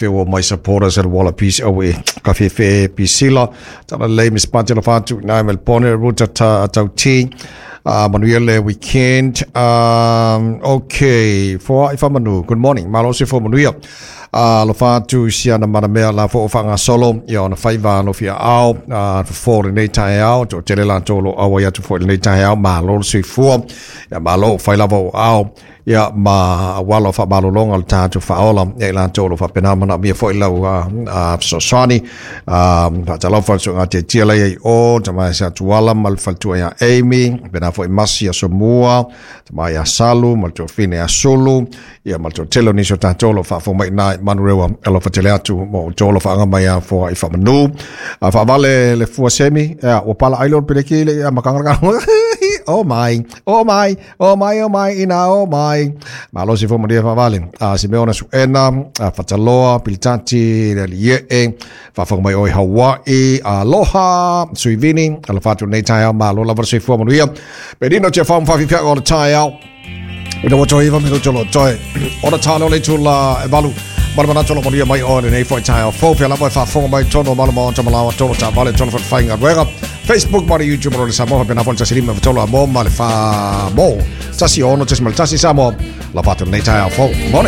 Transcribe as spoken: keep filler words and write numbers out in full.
Fewa my supporters at Wallabies awe ka fefe pisila tala le Miss Pantela fatu na Melbourne ruta ta tauti uh, Manuele weekend. um okay for if manu, good morning, malo se fo manuia uh, lo fatu sia na mana mea la fo fanga solo ia ona faiva lo fia au uh, fo le nei tai au to tele la to lo awa ia tu fo le nei tai au malo se fo ia malo fai lava o au ia ma walo fa malolonga le tātou whaola ia i lātou lo whapena mana mia foi lau uh, sosani whatalofa so ngā te tia lei o ta mai sa tuala ma le faltua ia Amy pena foi masi ia somua ta mai ia Salu ma le tofine ia Sulu ia ma le totelo niso tātou lo whaafo mai nai manurewa alo fatele atu mo tolo whaanga mai ia fo i whamanu a whaavale le fua semi ia o pala ailo peleki le ia makanga. Oh my, oh my, oh my, oh my, ina, oh my. Malo si fo maria whaavale. Uh, Simeona Suena, uh, Fataloa, Pilitati, le Lie'e, whaafonga mai oi Hawaii, aloha, Suivini, alo whatu nei tai au, malo lava se fua manuia. Perino te whaam whawhiwhia o le tai au. Ina wato iwa me tolo toi. Ora tālo le tula e valu. Mana mana tolo manuia mai o le nei foi tai au. Fo pia lava e whaafonga mai tono malo mo ta malawa tolo ta vale tolo whainga ruega. Facebook ma le YouTube ma le Samoa pena fo tasi lima tolo a mo ma le fa mo. Tasi ono tasi ma tasi Samoa. La whatu nei tai au fo. Morning.